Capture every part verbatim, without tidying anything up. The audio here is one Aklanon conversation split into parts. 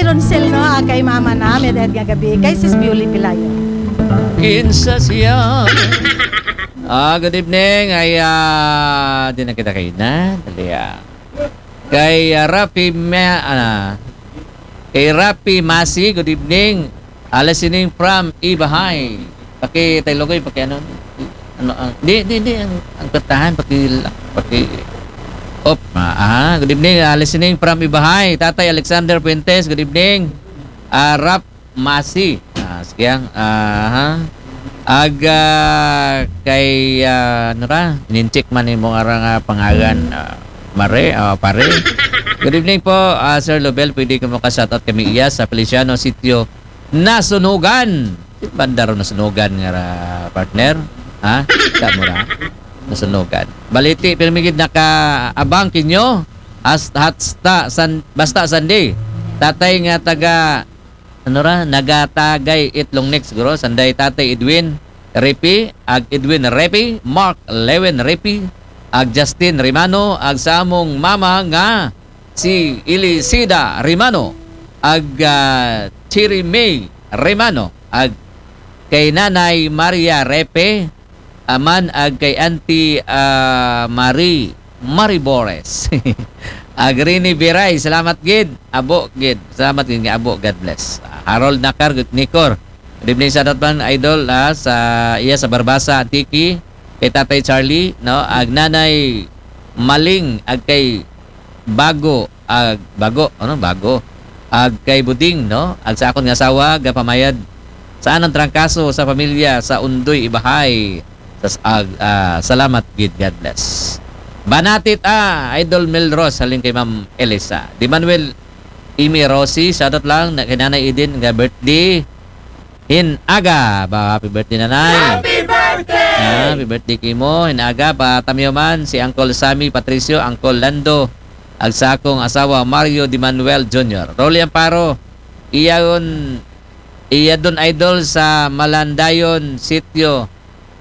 Ronsel, no, ah, kay mama na, may dahil nga gabi, kay Sis Bewley Pelayo. Kinsa siya? Ah, good evening. Ay, ah, di na kita kayo na. Dali, ah. Kay, ah, Rafi Ma-, ah, kay Rafi Masi, good evening. Ah, listening from Ibahay. Paki, tayo logoy, paki ano, ano, ang, di, di, di, ang, ang kantahan, paki, paki, op, ah, ah, good evening, ah, listening from Ibahay. Tatay Alexander Fuentes, good evening. Ah, Rap Masi. Ah, sige, ah, ha. Ag, ah, kay, ah, ano ra, ininchik man yung mga nga pangalan, ah, Mare, ah, pare. Good evening po, ah, Sir Lobel. Pwede ko makashoutout kami iya sa Feliciano Sitio Nasunugan. Banda ro Nasunugan nga ra, partner. Ha? Ka mo ra. Nasunugan. Baliti, pirmi gid nakaabang kinyo. As, hasta, san, basta Sunday. Tatay nga taga, ano ra, nagatagay itlong next, guro. Sanday Tatay Edwin Repi, ag Edwin Repi, Mark Lewin Repi, ag Justin Rimano, ag sa among mama nga si Elisida Rimano, ag, ah, Cherry May Rimano, ag kay Nanay Maria Repe, aman ag kay Auntie, ah, Marie, Marie Bores. Ag Rini Biray, salamat gid. Abo gid. Salamat gid nga abo. God bless. Ah, Harold Nakar, good Nikor. Good evening sa aton man, idol, ah, sa iya sa Barbasa, Antique. Kay Tatay Charlie, no? Ag Nanay Maling, ag kay Bago, ag Bago, ano? Bago. Ag kay Buding, no? Ag sa akon nga asawa, gapamayad sa anang trangkaso sa pamilya sa Undoy Ibahay. Sa, ag, ah, salamat gid, God bless. Banatit, ah, Idol Mel Ross, halin kay Ma'am Elisa. Di Manuel Imi Rosie, shoutout lang na kay Nanay Eden nga birthday. Hin aga, ba, happy birthday, Nanay. Happy birthday! Ah, happy birthday kimo. Hin aga, pa tamiyo man si Uncle Sammy Patricio, Uncle Lando, ag sa akong asawa Mario Di Manuel Junior. Rolly Amparo, iyaon, iya don idol sa Malandayon, Sitio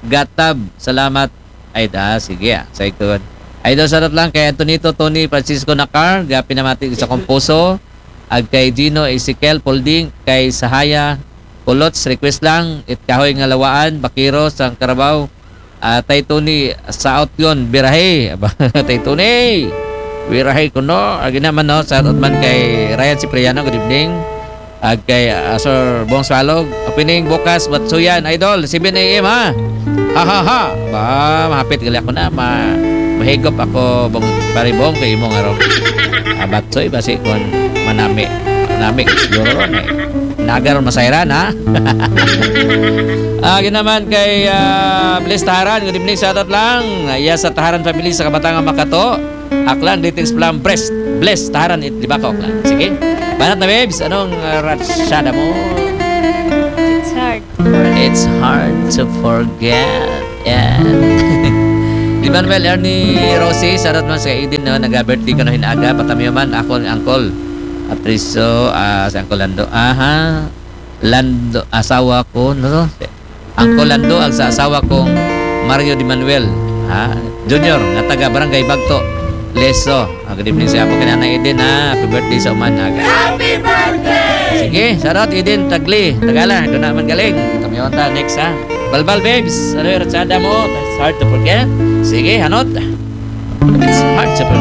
Gatab. Salamat. Ay, ah, sige, ah. Sa ikon. Idol, shoutout lang kay Antonito Tony Francisco Nacar, ga pinamati sa Composo, ag kay Gino Ezekiel Polding, kay Sahaya Pulots, request lang, It Kahoy nga Lawaan, Bakiro, Sang Carabao, ah, Tay Tony, sa out yun, birahe. Aba, Tay Tony, birahe ko, no? Agi naman, no? Shoutout man kay Ryan Cipriano, good evening. Ag kay, ah, Sir Bong Swalog, opening bukas, Batsuyan, Idol, seven a m, ha? Ha, ha, ha. Ba, mahapit gali ako na, ma mahigop ako, Bong, Pare Bong, kay imo nga ro. Ah, Batsoy, basi kon manami. Nami, siguro ron, eh. Nagar masayran, ha? Ah, ginaman kay, ah, Bless Taharan, good evening, shoutout lang. Ah, iya sa Taharan family sa Kabatangan Makato. Aklan, greetings from Bless, Bless Taharan, it, di ba ka, Aklan? Sige. Banat na, babes, anong, ah, ratsada mo? It's hard. It's hard to forget. Yeah. Di Manuel Ernie Rosie, shoutout man sa Eden, no? Naga-birthday ko no hin aga. Patamiyo man, ako ang uncle. Atriso, ah, si Uncle Lando. Aha. Lando, asawa ko, no? Uncle Lando, ag sa asawa kong Mario Di Manuel, ha? Junior, nga taga Barangay Bagto, Leso. Ah, good evening sa apo kay Nanay Eden, ha? Happy birthday sa uman, aga. Happy birthday! Sige, shoutout Eden Tagli, Tagala, doon naman galing. Kami ta next, ha? Balbal, babes, ano yung ratsada mo? It's hard to forget. Sige, hanot. It's hard to forget.